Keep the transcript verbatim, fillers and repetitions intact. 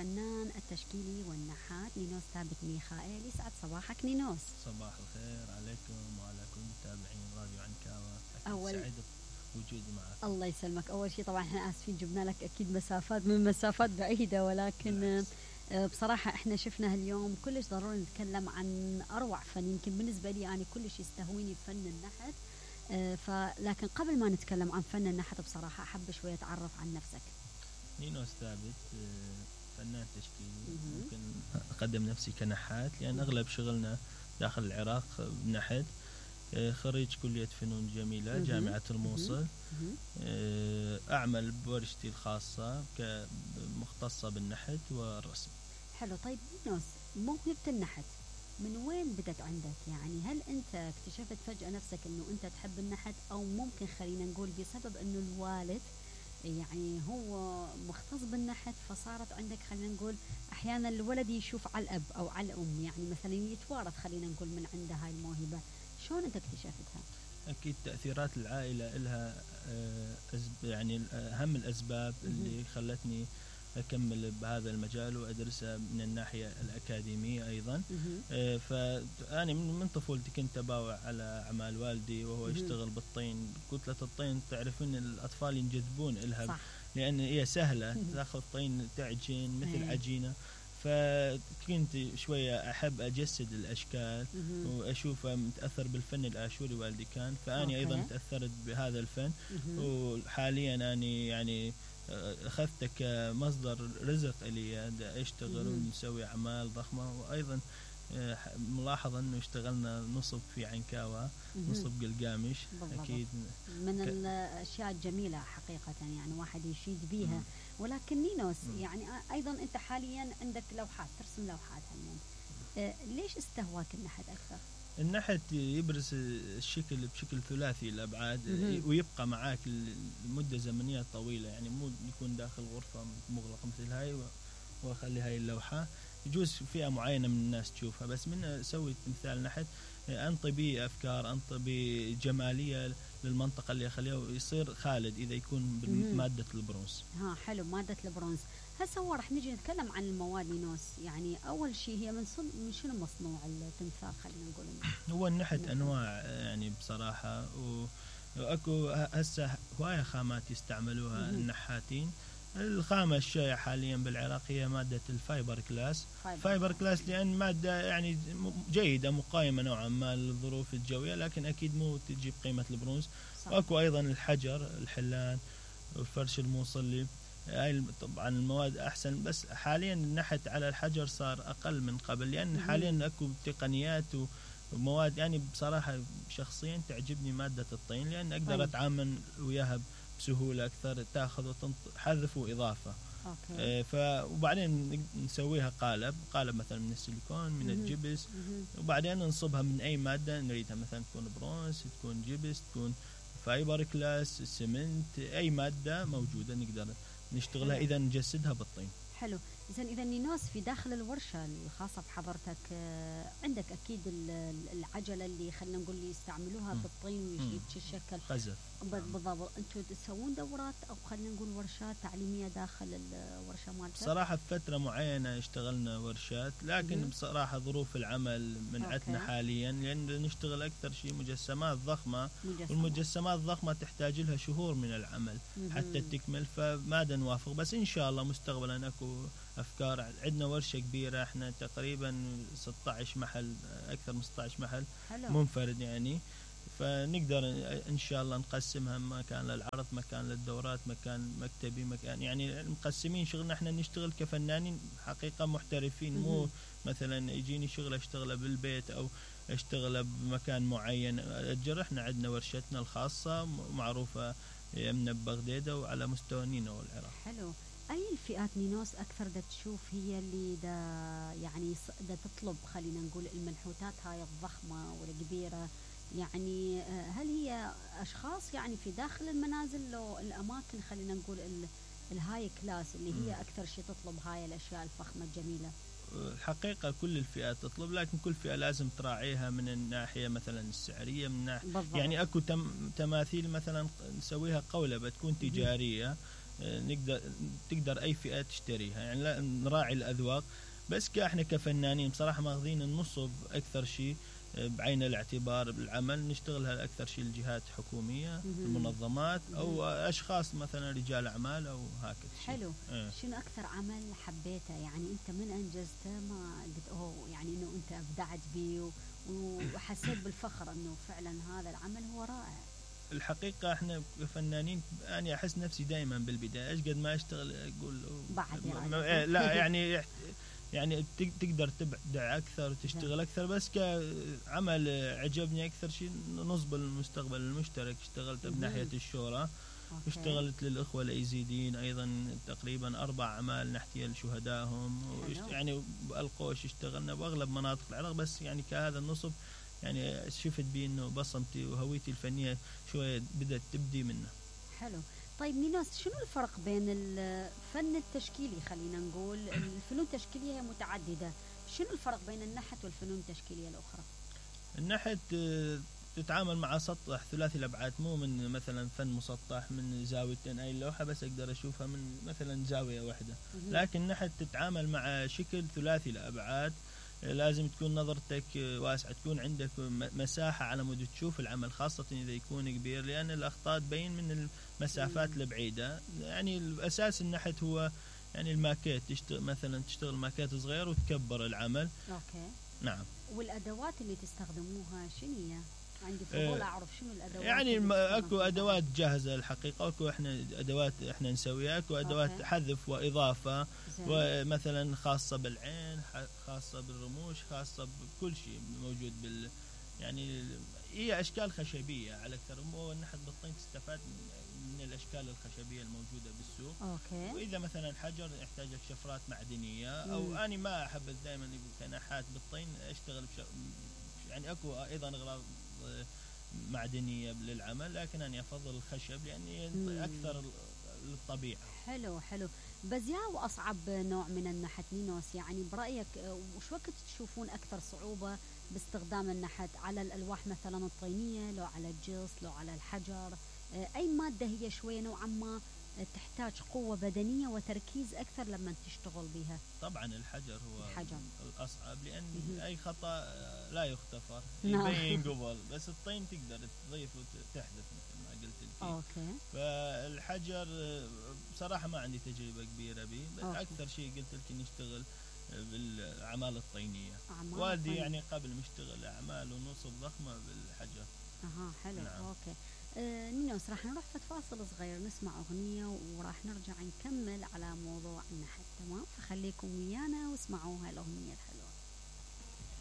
الفنان التشكيلي والنحات نينوس ثابت ميخائيل. يسعد صباحك نينوس. صباح الخير عليكم وعلى كل متابعين راديو عنكاوة. أول سعيد بوجودي معك. الله يسلمك. أول شيء طبعا احنا آسفين جبنا لك أكيد مسافات من مسافات بعيدة، ولكن بصراحة احنا شفنا اليوم كلش ضروري نتكلم عن أروع فن. يمكن بالنسبة لي أنا كلش يستهويني فن النحت، فلكن قبل ما نتكلم عن فن النحت بصراحة أحب شوية أتعرف عن نفسك. نينوس ثابت فنان تشكيلي. ممكن أقدم نفسي كنحات لأن أغلب شغلنا داخل العراق نحت. خريج كلية فنون جميلة جامعة الموصل. أعمل بورشتي الخاصة كمختصة بالنحت والرسم. حلو. طيب نينوس، موهبة النحت من وين بدت عندك؟ يعني هل أنت اكتشفت فجأة نفسك أنه أنت تحب النحت، أو ممكن خلينا نقول بسبب أنه الوالد يعني هو مختص بالنحت فصارت عندك خلينا نقول أحيانا الولد يشوف على الأب أو على الأم، يعني مثلا يتوارث خلينا نقول من عنده هاي الموهبة. شلون أنت اكتشفتها؟ أكيد تأثيرات العائلة إلها يعني أهم الأسباب اللي خلتني أكمل بهذا المجال وأدرسه من الناحية الأكاديمية أيضا. فأنا من طفولتي كنت أباوع على أعمال والدي وهو يشتغل بالطين. كتلة الطين تعرفين الأطفال ينجذبون إلها صح. لأن هي سهلة، تأخذ طين تعجين مثل عجينة. فكنت شوية أحب أجسد الأشكال وأشوفه متأثر بالفن الآشوري والدي كان، فأني أيضا تأثرت بهذا الفن. وحاليا أنا يعني أخذته كمصدر رزق لي، أشتغل ونسوي أعمال ضخمة. وأيضا ملاحظة أنه اشتغلنا نصب في عنكاوة، نصب قلقامش. أكيد من ك... الأشياء الجميلة حقيقة، يعني واحد يشيد بيها. ولكن نينوس مم. يعني أيضا أنت حاليا عندك لوحات، ترسم لوحات هاليوم. أه ليش استهواك النحت أكثر؟ النحت يبرز الشكل بشكل ثلاثي الأبعاد مم. ويبقى معاك لمدة زمنية طويلة، يعني مو يكون داخل غرفة مغلقة مثل هاي وأخلي هاي اللوحة. يجوز فئة معينة من الناس تشوفها، بس من أسوي تمثال نحت أنطي بي أفكار، أنطي بي جمالية للمنطقة اللي أخليها ويصير خالد إذا يكون بمادة البرونز. ها حلو، مادة البرونز. هسه هو رح نيجي نتكلم عن المواد نينوس. يعني أول شيء هي من صن... من شنو مصنوع التمثال خلينا نقول؟ هو النحت أنواع يعني بصراحة، وأكو هسه هواية خامات يستعملوها النحاتين. الخامة الشائعة حاليا بالعراق هي مادة الفايبر كلاس. فايبر, فايبر كلاس لأن مادة يعني جيدة مقايمة نوعا ما للظروف الجوية، لكن أكيد مو تجيب قيمة البرونز. وأكو أيضا الحجر، الحلان والفرش الموصلي. هاي طبعا المواد أحسن، بس حاليا النحت على الحجر صار أقل من قبل، لأن حاليا أكو تقنيات ومواد. يعني بصراحة شخصيا تعجبني مادة الطين، لأن أقدر أتعامل وياها بسهولة أكثر، تأخذ وحذف وإضافة. أوكي. ف وبعدين نسويها قالب قالب مثلا من السيليكون، من الجبس، وبعدين ننصبها من أي مادة نريدها، مثلا تكون برونز، تكون جبس، تكون فايبر كلاس، سمنت، أي مادة موجودة نقدر نشتغلها إذا نجسدها بالطين. حلو. إذن إذا نينوس في داخل الورشة الخاصة بحضرتك عندك أكيد العجلة اللي خلينا نقول اللي يستعملوها في الطين ويتشكل قذف. بالضبط. أنتوا تسوون دورات أو خلينا نقول ورشات تعليمية داخل الورشة مالتك؟ صراحة في فترة معينة اشتغلنا ورشات، لكن مم. بصراحة ظروف العمل منعتنا حاليا، لأن نشتغل أكثر شيء مجسمات ضخمة. مجسمات. والمجسمات الضخمة تحتاج لها شهور من العمل مم. حتى تكمل، فما نوافق. بس إن شاء الله مستقبلا أكو أفكار. عندنا ورشة كبيرة، إحنا تقريبا ستة عشر محل، أكثر من ستة عشر محل حلو. منفرد يعني، فنقدر إن شاء الله نقسمها مكان للعرض، مكان للدورات، مكان مكتبي، مكان يعني مقسمين شغلنا. إحنا نشتغل كفنانين حقيقة محترفين، مو مثلا يجيني شغل أشتغله بالبيت أو أشتغله بمكان معين أجر. إحنا عندنا ورشتنا الخاصة معروفة يمنا ببغدادة وعلى مستوى نينوى والعراق. حلو. أي الفئات نينوس أكثر دا تشوف هي اللي دا يعني دا تطلب خلينا نقول المنحوتات هاي الضخمة والكبيرة؟ يعني هل هي أشخاص يعني في داخل المنازل أو الأماكن خلينا نقول الهاي كلاس اللي هي أكثر شيء تطلب هاي الأشياء الفخمة الجميلة؟ الحقيقة كل الفئات تطلب، لكن كل فئة لازم تراعيها من الناحية مثلا السعرية، من ناحية يعني أكو تم تماثيل مثلا نسويها قولبة تكون تجارية، نقدر تقدر اي فئة تشتريها، يعني لا نراعي الاذواق. بس كاحنا كفنانين بصراحة ماخذين النصب اكثر شيء بعين الاعتبار بالعمل، نشتغلها اكثر شيء الجهات حكومية، المنظمات او اشخاص مثلا رجال اعمال او هكذا. حلو. اه. شنو اكثر عمل حبيته يعني انت من انجزته ما قلت اوه يعني انه انت ابدعت به وحسيت بالفخر انه فعلا هذا العمل هو رائع؟ الحقيقة احنا كفنانين انا احس نفسي دائما بالبداية ايش قد ما اشتغل اقول بعد يعني لا يعني يعني تقدر تبدع اكثر وتشتغل اكثر، بس كعمل عجبني اكثر شيء نصب المستقبل المشترك. اشتغلت بناحية الشورى، اشتغلت للاخوة الايزيديين ايضا تقريبا اربع اعمال نحكي لشهدائهم، يعني بالقوش اشتغلنا باغلب مناطق العراق. بس يعني كهذا النصب يعني شفت بي انه بصمتي وهويتي الفنية شوية بدأت تبدي منه. حلو. طيب نينوس، شنو الفرق بين الفن التشكيلي، خلينا نقول الفنون التشكيلية هي متعددة، شنو الفرق بين النحت والفنون التشكيلية الأخرى؟ النحت تتعامل مع سطح ثلاثي الأبعاد، مو من مثلا فن مسطح من زاويتين، أي لوحة بس أقدر أشوفها من مثلا زاوية واحدة. لكن النحت تتعامل مع شكل ثلاثي الأبعاد، لازم تكون نظرتك واسعة، تكون عندك مساحة على مود تشوف العمل، خاصة إذا يكون كبير، لأن الأخطاء تبين من المسافات البعيدة. يعني الأساس النحت هو يعني الماكيت، تشتغل مثلا تشتغل ماكيت صغير وتكبر العمل. أوكي. نعم. والأدوات اللي تستخدموها شنو هي؟ عندي فضول أعرف شنو الأدوات. يعني أكو أدوات جاهزة الحقيقة، أكو إحنا أدوات إحنا نسويها، أكو أدوات أوكي. حذف وإضافة زي. ومثلا خاصة بالعين، خاصة بالرموش، خاصة بكل شيء موجود بال يعني هي أشكال خشبية على أكثر. والنحت بالطين تستفاد من الأشكال الخشبية الموجودة بالسوق. أوكي. وإذا مثلا حجر يحتاج لك شفرات معدنية، أو مم. أنا ما أحب دائما كنحات بالطين أشتغل بش... يعني أكو أيضا أغراض معدنية للعمل، لكن أنا أفضل الخشب لأني مم. أكثر للطبيعة. حلو حلو. بزياء وأصعب نوع من النحت نينوس، يعني برأيك وش وقت تشوفون أكثر صعوبة باستخدام النحت؟ على الألواح مثلا الطينية، لو على الجص، لو على الحجر؟ أي مادة هي شوية نوعا ما تحتاج قوة بدنية وتركيز أكثر لما تشتغل بها؟ طبعا الحجر هو الحجر. الأصعب، لأن م- أي خطأ لا يختفر يبين قبل، بس الطين تقدر تضيف وتحذف مثل ما قلت لك. أوكي. فالحجر بصراحة ما عندي تجربة كبيرة به، بس أوكي. أكثر شيء قلت لك نشتغل بالأعمال الطينية. والدي يعني قبل مشتغل أعمال ونصب ضخمة بالحجر. أها حلو. نعم. أوكي. آه نينوس، راح نروح في فاصل صغير نسمع أغنية وراح نرجع نكمل على موضوع النحت، تمام؟ فخليكم ويانا واسمعوا هالأغنية الحلوة.